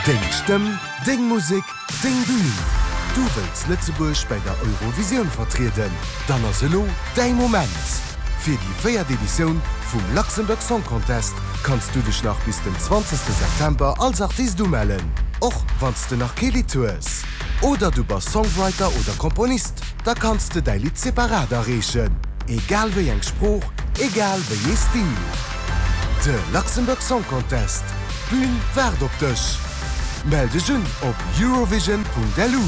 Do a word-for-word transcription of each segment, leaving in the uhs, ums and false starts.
Deng Stëmm, deng Musek, deng Bün! Du wëlls Lëtzebuerg bei der Eurovisioun vertrieden? Dann ass elo däi Moment! Fir déi véiert Editioun vum Luxembourg Song Contest kanns du dech nach bis den zwanzegste September als Artist umellen, och wann s de nach kee Lidd hues. Oder du bass Songwriter oder Komponist, da kanns de däi Lidd separat areechen, egal wéi eng Sprooch, egal wéi ee Stil. De Luxembourg Song Contest, d'Bün waart op dech! Mell dech un op eurovision.lu.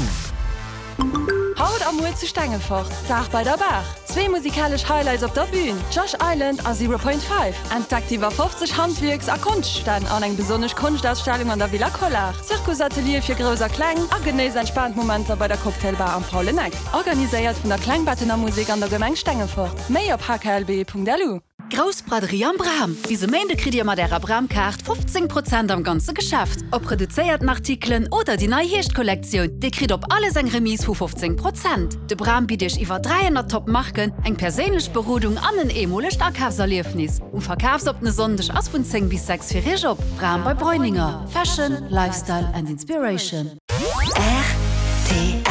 Haut a muer zu Stengefort, Dag bei der Baach! Zwee musikalesch Highlights op der Bün, Josh Island a Zero Point Five. Entdeckt iwwer fofzeg Handwierks a Konschtstänn an eng besonnesch Konschtausstellung an der Villa Collart, Zirkusateliere fir Grouss a Kleng a genéisst entspaant Momenter bei der Cocktailbar am Faulen Eck. Organiséiert vun der Klengbettener Musek an der Gemeng Stengefort. Méi op hklb.lu. Grouss Braderie am Bram! Bis e Méinde kritt Dir mat Ärer Bram-Kaart fofzéng Prozent am ganze Geschäft. Ob reduzéierten Artikelen oder déi nei Hierschtkollektioun, Dir kritt op alles eng Remise vu fofzéng Prozent. De Bram bitt Iech iwwer dräihonnert Top Marken, eng perséinlech Berodung an en eemolegt Akafserliefnis. Um verkafsoppene Sonndeg ass vun zéng bis sechs fir Iech op. Bram bei Breuninger, Fashion, Lifestyle and Inspiration. Rtl.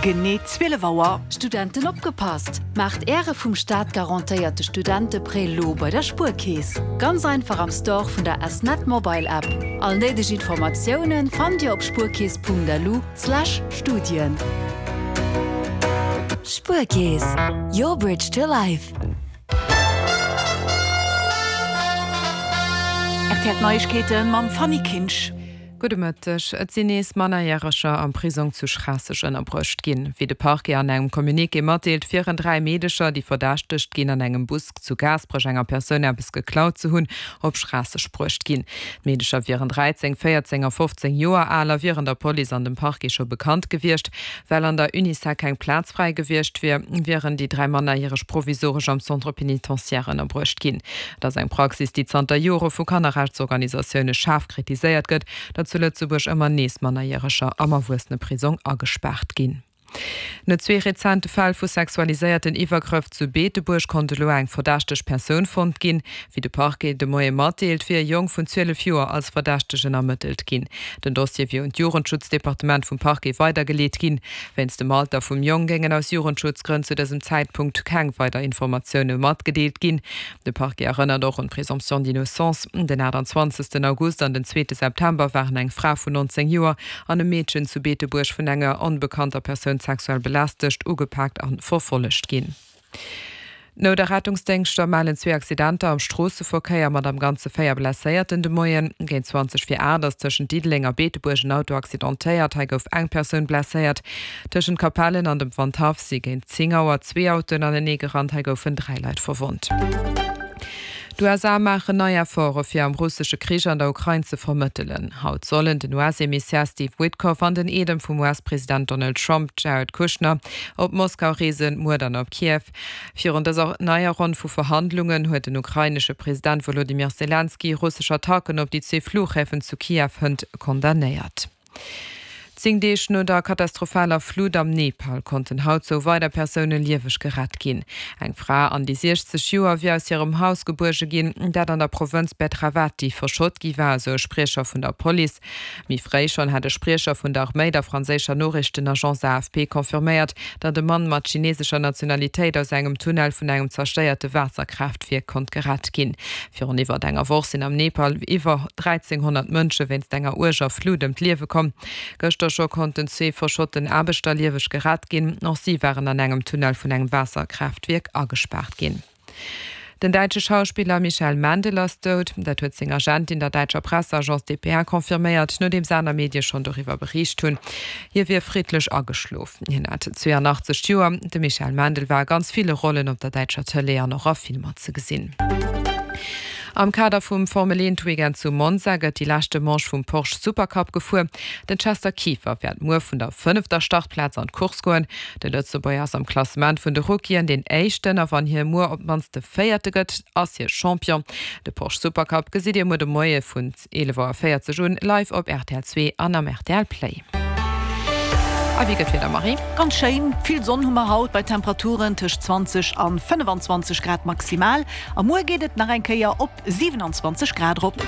Genee zwielef Auer. Studenten opgepasst! Maacht Äre vum Staat garantéierte Studenteprêt lo bei der Spuerkeess. Ganz einfach am Store vun der S-Net Mobile App. All néideg Informatiounen fannt Dir op spuerkeess.lu slash Studien. Spuerkeess, your bridge to life. R T L Neiegkeete mam Fanny Kinsch. Gudde Mëtteg. Et sinn nees Mannerjäreger am Prisong zu Schraasseg ënnerbruecht ginn. Wéi de Parquet an engem Communiqué matdeelt, wieren dräi Meedecher, déi verdächtegt ginn, an engem Bus zu Gaasperech enger Persoun eppes geklaut ze hunn, op Schraasseg bruecht ginn. D'Meedecher wieren dräizéng, véierzéng a fofzéng Joer al a wieren der Police an dem Parquet scho bekannt gewiescht. Well an der Unisec keng Plaz fräi gewiescht wier, wieren déi dräi Mannerjäreg provisoresch am Centre pénitentiaire ënnerbruecht ginn. Et ass eng Praxis, déi zanter Jore vu Kannerrechtsorganisatioune schaarf kritiséiert gëtt, datt zu Lëtzebuerg ëmmer nees Mannerjäreger am Erwuesseneprisong agespaart ginn. No zwee rezente Fäll vu sexualiséierten Iwwergrëff zu Beetebuerg konnt elo eng verdächteg Persoun fonnt ginn. Wéi de Parquet de Moie matdeelt, wier e Jong vun zwielef Joer als Verdächtegen ermëttelt ginn. Den Dossier wier un d'Jugendschutzdepartement vum Parquet weidergeleet ginn. Wéinst dem Alter vum Jong géingen aus Jugendschutzgrënn zu dësem Zäitpunkt keng weider Informatioune matgedeelt ginn. De Parquet erënnert och un d'Présomption d'innocence. Den aachtanzwanzegsten August an den zweete September waren eng Fra vun nonzéng Joer an e Meedchen zu Beetebuerg vun enger onbekannter Persoun sexuell belästegt, ugepaakt a verfollegt ginn. D'Nout a Rettungsdéngschter mellen zwee Accidenter am Stroosseverkéier mat am Ganze véier Blesséierten de Moien. Géint zwanzeg vir aacht ass tëschent Diddeleng a Beetebuerg en Auto accidentéiert. Hei gouf eng Persoun blesséiert. Tëschent Capellen an dem Wandhaff si géint zéng Auer zwee Autoen anenee gerannt. Hei goufen dräi Leit verwonnt. D'U S A maachen nei Efforte fir am russesche Krich an der Ukrain ze vermëttelen. Haut sollen den U S-Emissär Steve Witkoff an den Eedem vum U S-President Donald Trump, Jared Kushner, op Moskau reesen, muer dann op Kiew. Virun dëser neier Ronn vu Verhandlungen huet den ukrainesche President Volodymyr Zelensky russesch Attacken op déi zwee Fluchhäfen zu Kiew hënt condamnéiert. Zéng Deeg no der katastrophaler Flut am Nepal konnten haut sou weider Persoune lieweg gerett ginn. Eng Fra an déi siechzeg Joer wier aus hirem Haus gebuerge ginn, dat an der Provënz Betravati verschott gi war, esou e Spriecher vun der Police. Méi fréi schonn hat e Spriecher vun der Arméi der franséischer Noriichtenagence A F P confirméiert, datt e Mann mat chinesescher Nationalitéit aus engem Tunnel vun engem zerstéierte Waasserkraaftwierk konnt gerett ginn. Virun iwwer enger Woch sinn am Nepal iwwer dräizénghonnert Mënsche wéinst enger uerger Flut ëm d'Liewe komm. Gëschter scho konnten zwee verschotten Aarbechter lieweg gerett ginn. Och si waren an engem Tunnel vun engem Waasserkraaftwierk agespaart ginn. Den däitsche Schauspiller Michael Mendel ass dout. Dat huet seng Agentin der däitscher Presseagence D P A confirméiert, nodeems aner Medie schonn doriwwer bericht hunn. Hie wier friddlech ageschlof. Hien hat zweiundachtzeg Joer. De Michael Mendel war a ganz ville Rollen op der däitscher Tëlee an och a Filmer ze gesinn. Am Kader vum Formel eent Weekend zu Monza gëtt déi leschte Manche vum Porsche Supercup gefuer. Den Chester Kieffer wäert muer vun der fënnefter Startplaz an d'Course goen. De Lëtzebuerger ass am Klassement vun de Rookien deen éischten a wann hie muer op d'mannst de véierte gëtt, ass hie Champion. De Porsche Supercup gesitt Dir muer de Moie vun eelef Auer véierzeg un live op R T L zwee an am R T L Play. A wéi gëtt d'Wieder, Marie? Ganz schéin, vill Sonn hu mer haut bei Temperaturen tëscht zwanzeg an fënnefanzwanzeg Grad maximal. A muer geet et nach eng Kéier op siewenundzwanzeg Grad erop.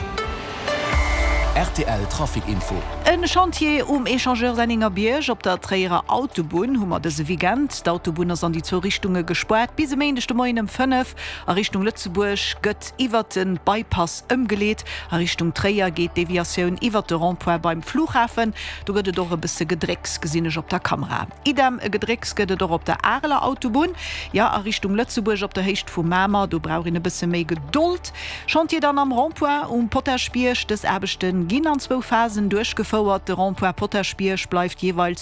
Rtl Trafic Info. En Chantier um Echangeur Sennengerbierg op der Tréierer Autobunn hu mer dëse Weekend. D'Autobunn ass an déi zwou Richtunge gespaart. Bis e Méindeg de Moien ëm fënnef. A Richtung Lëtzebuerg gëtt iwwert de Bypass ëmgeleet. A Richtung Tréier geet d'Deviatioun iwwert de Rond-point beim Flughafen. Do gëtt et och e bësse Gedrécks, gesinn ech op der Kamera. Idem e Gedrécks gëtt et och op der Areler Autobunn. Jo, a Richtung Lëtzebuerg op der Héicht vu Mamer. Do brauch een e bësse méi Gedold. Chantier dann am Rond-point um Potaschbierg. Dës Aarbechte ginn an zwou Phasen duerchgefouert. De Rond-point Potaschbierg bleift jeeweils